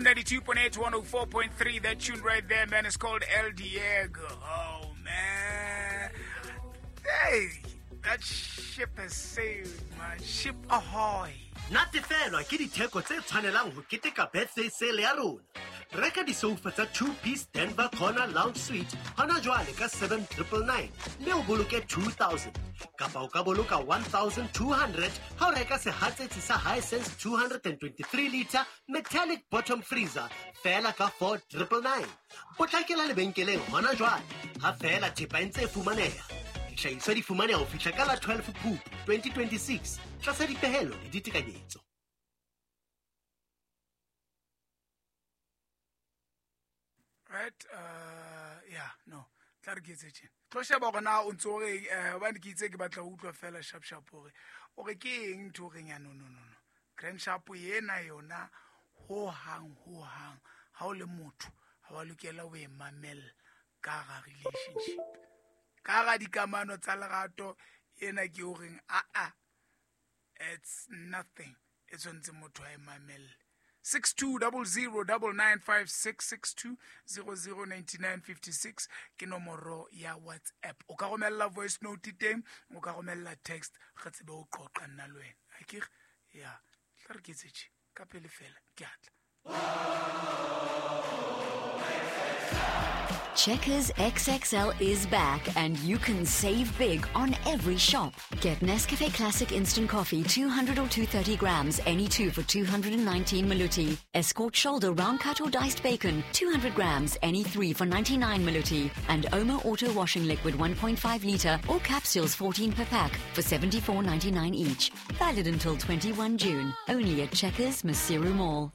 92.8, 104.3. That tune right there, man, is called El Diego. Oh, man. Hey, that ship has sailed, man. Ship ahoy. Natefelwa ke ditheko tse tshwanelang ho keteka birthday sale ya rona. Reka disoufa tsa two-piece Denver Corner Lounge Suite hona jwale ka 7999 mme o boloke 2000, kapa o ka boloka 1200 ha o reka sehatsetsi sa Hisense 223 litre metallic bottom freezer feela ka 4999. Potlakela lebenkeleng hona jwale ha feela thepa e ntse e fumaneha. Dihlahiswa di fumaneha ho fihla ka la 12 Phupu 2026 tlasa dipehelo le ditekanyetso. Right, yeah, no, tla re ke etse tjena. Tlo sheba hore na o ntso o reng, hobane ke itse ke batla ho utlwa fela sharp sharp hore o re ke eng ntho o reng ya no, no, no, no. Grand Sharp ena yona ho hang, ho hang, ha o le motho ha wa lokela ho e mamella ka hara relationship, ka hara dikamano tsa lerato. Ena ke o reng a a, it's nothing e tshwanetse motho a e mamelle. 62009956, 62009956 ke nomoro ya WhatsApp. O ka romella voice note teng, o ka romella text, re tsebe ho qoqa nna le wena. Akere ya tla re ke etse tje ka pele fela, ke atla. Checkers XXL is back and you can save big on every shop. Get Nescafe Classic Instant Coffee 200 or 230 grams, any two for 219 Maluti. Escort Shoulder Round Cut or Diced Bacon, 200 grams, any three for 99 Maluti. And Omo Auto Washing Liquid 1.5 litre or capsules 14 per pack for 74.99 each. Valid until 21 June. Only at Checkers Maseru Mall.